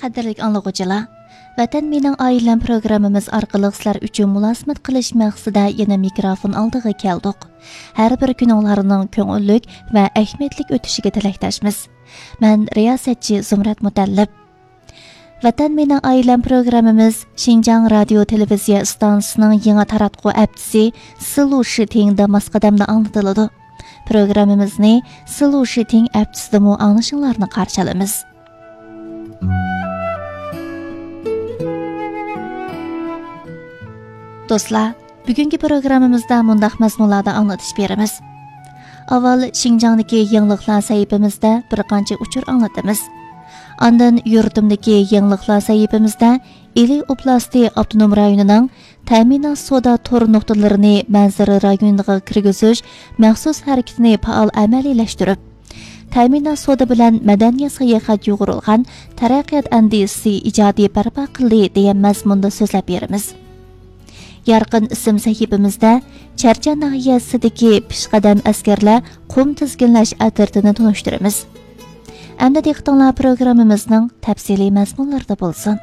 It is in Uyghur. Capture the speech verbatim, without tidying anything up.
قەدىرلىك ئاڭلىغۇچىلار، ۋەتەن مېنىڭ ئائىلەم پروگراممىمىز ئارقىلىق سىلەر ئۈچۈن مۇلازىمەت قىلىش مەقسىتىدە يەنە مىكروفون ئالدىغا كەلدۇق. ھەر بىر كۈنۈڭلارنىڭ كۆڭۈللۈك ۋە ئەھمىيەتلىك ئۆتۈشىگە تىلەكداشمىز. مەن رىياسەتچى زۇمرەت مۇتەللىپ. ۋەتەن مېنىڭ ئائىلەم پروگراممىمىز شىنجاڭ رادىيو تېلېۋىزىيە ئىستانسىسىنىڭ يېڭى تاراتقۇ ئەپچىسى سىلۇ شىتىڭدا ماس قەدەمدە ئاڭلىتىلىدۇ. پروگراممىمىزنى سىلۇ شىتىڭ ئەپچىسىدىمۇ ئاڭلىشىڭلارنى قارشى ئالىمىز. دوستلار، بۈگۈنكى پروگراممىمىزدا مۇنداق مەزمۇنلاردا ئاڭلىتىش بېرىمىز. ئاۋۋال شىنجاڭدىكى يېڭىلىقلار سەھىپىمىزدە بىر قانچە ئۇچۇر ئاڭلىتىمىز. ئاندىن يۇرتۇمدىكى يېڭىلىقلار سەھىپىمىزدە ئىلى ئوبلاستى ئاپتونوم رايونىنىڭ تەمىنات سودا تور نۇقتىلىرىنى مەنزىرە رايونىغا كىرگۈزۈش مەخسۇس ھەرىكىتىنى پائال ئەمەلىيلەشتۈرۈپ، تەمىنات سودا بىلەن مەدەنىيەت ساياھەت يۇغۇرۇلغان تەرەققىيات ئەندىزىسى ئىجادىي بەرپا قىلدى دېگەن مەزمۇندا سۆزلەپ بېرىمىز. يارقىن ئىسىم سەھىپىمىزدە چەرچەن ناھىيەسىدىكى پېشقەدەم ئەسكەرلەر قۇم تىزگىنلەش ئەترىتىنى تونۇشتۇرىمىز. ئەمدى دىققىتىڭلار پروگراممىمىزنىڭ تەپسىلىي مەزمۇنلىرىدا بولسۇن.